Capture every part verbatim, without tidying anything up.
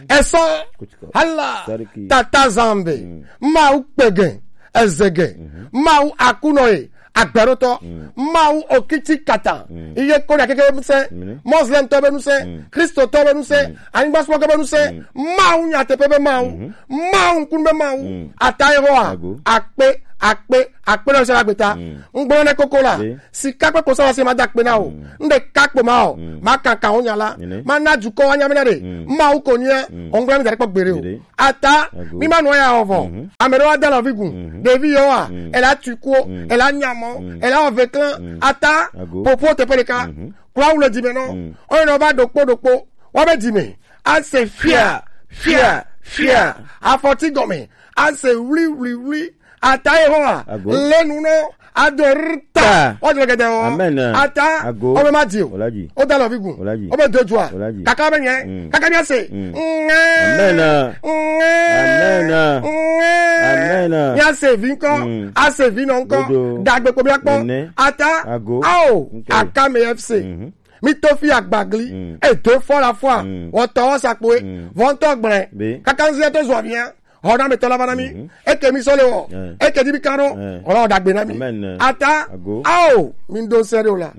Esɔ hala tata zambe. Mawu kpege ezege. Mawu akunɔ ye agbɛrotɔ. Mawu okiti kata. Iye ko na keke musɛ. Muslim tɔ be nusɛ. Kristo tɔ be nusɛ. Anyigba sumɔgɔ be nusɛ. Mawu nyateƒe be Mawu. Mawu ŋkunu be Mawu. Ata ye hɔ a. Akpe akpe akpe na sɛ la gbeta. Ŋgblɔ ne koko la. Sika kple kosala se ma da akpe na o. Ŋɖe kakpo ma o. Ma kaka wo nya la. Ma na dukɔ wa nya mi na ɖe. Mawu ko nya. Ŋgblɔ mi da ɖe kpɔ gbeɖe o. Ata mi ma nɔ ya o vɔ. Ame ɖewo ada lɔvi gun. Ɖevi yewo a. Ela tui kuwo. Ela nyamɔ. Ela wɔ veklan. Ata popo teƒe ɖeka. Kura wu le dime nɔ. Oyin nɔ va ɖokpo ɖokpo. Wa be dime. Ase fia fia fia. Afɔti gɔme. Ase wli wli wli. Ata ye hɔn a. Lenu nɔ. Ado rta. Ɔjɔ gɛdɛ o. Ata. Ome ma di o. O da lɔvi gun. O be do jua. Kaka be nyɛ. Kaka mi ase. Ŋɛ. Ŋɛ. Ŋɛ. Mi ase vi ŋkɔ. Ase vi nɔ ŋkɔ. Dagbe ko mi akpɔ. Ata. Ao. Akame F C. Mi to fi agbagli. E do fɔ la fɔ a. Wɔtɔ wɔ sakpoe. Vɔntɔ gblɛ. Kaka ŋzi to zɔ via. Xɔ na mi tɔ la va na mi. Eke mi sɔ le wɔ. Eke di mi kan ɖo. Xɔ na wɔ dagbe na mi. Ata. Ao. Mi do sɛ ɖe o la.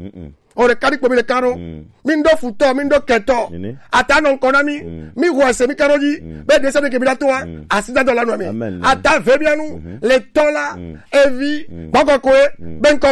O ɖe kadi kpo mi le kan ɖo. Mi do futɔ, mi do kɛtɔ. Ata nɔ ŋkɔ na mi. Mi xɔ ese mi kan ɖo dzi. Be de sɛ de ke mi la to wa. Asi da dɔ la nɔ mi. Ata ve mi anu. Le tɔ la. Evi. Gbɔgbɔ ko ye. Be ŋkɔ